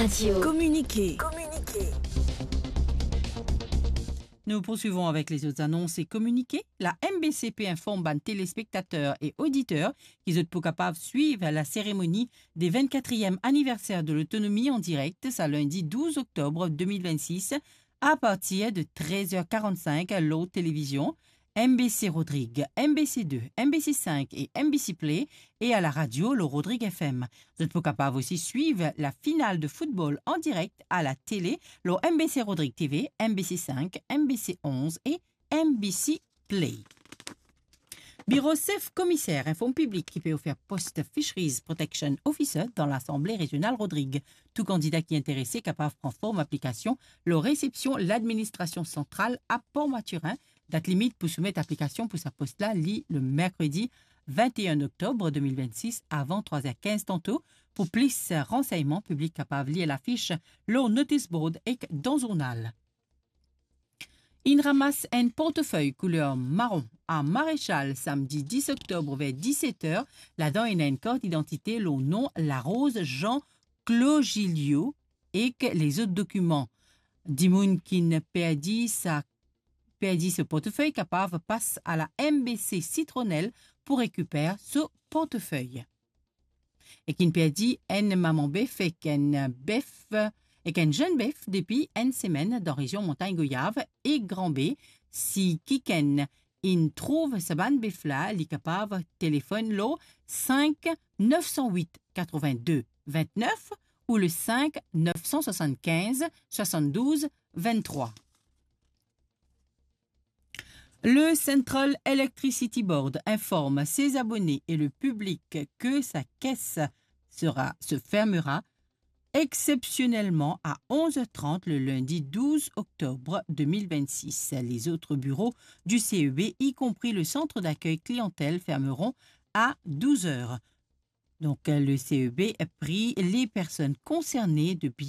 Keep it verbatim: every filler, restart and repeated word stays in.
Radio. Communiqué. Nous poursuivons avec les autres annonces et communiqués. La M B C P informe bann téléspectateurs et auditeurs ki zot pou kapav swiv la cérémonie des vingt-quatrième anniversaire de l'autonomie en direct, sa lundi douze octobre deux mille vingt-six, à partir de treize heures quarante-cinq lor télévision M B C Rodrig, M B C deux, M B C cinq et M B C Play, e a la radio lor Rodrig F M. Zot pou kapav osi swiv la final de football en direct à la télé lor M B C Rodrig T V, M B C cinq, M B C onze et M B C Play. Biro sef komiser inform piblik ki pe ofer post Fisheries Protection Officer dan Lasanble Rezional Rodrig. Tou kandida ki interese kapav pran form aplikasion lor resepsion ladministrasion santral a Port Mathurin. Dat limit pou soumet aplikasion pou sa post la li le merkredi vingt et un octobre deux mille vingt-six avan trois heures quinze tanto. Pou plis ransegnman, piblik kapav lir lafis lor notice board ek dan zournal. Inn ramas enn portefey kouler maron a Marechal samdi dis oktob ver diset er. Ladan ena enn kart idantite lor nom Larose Jean Clogilio ek lezot dokiman. Dimoun ki'nn perdi sa, perdi so portefey kapav pas a la M B C Citronelle pou rekiper so portefey. E ki'nn perdi enn mama bef ek enn bef, ek enn zenn bef depi enn semenn dan rezion Montagn Goyav e Gran Be. Si kikenn inn trouv sa bann bef la, li kapav telefonn lor cinq neuf cent huit quatre-vingt-deux vingt-neuf ou le cinq neuf cent soixante-quinze soixante-douze vingt-trois. Le Central Electricity Board informe ses abonnés et le public que sa caisse sera, se fermera exceptionnellement à onze heures trente le lundi douze octobre deux mille vingt-six. Les autres bureaux du C E B, y compris le centre d'accueil clientèle, fermeront à douze heures. Donc, le C E B prie les personnes concernées de bien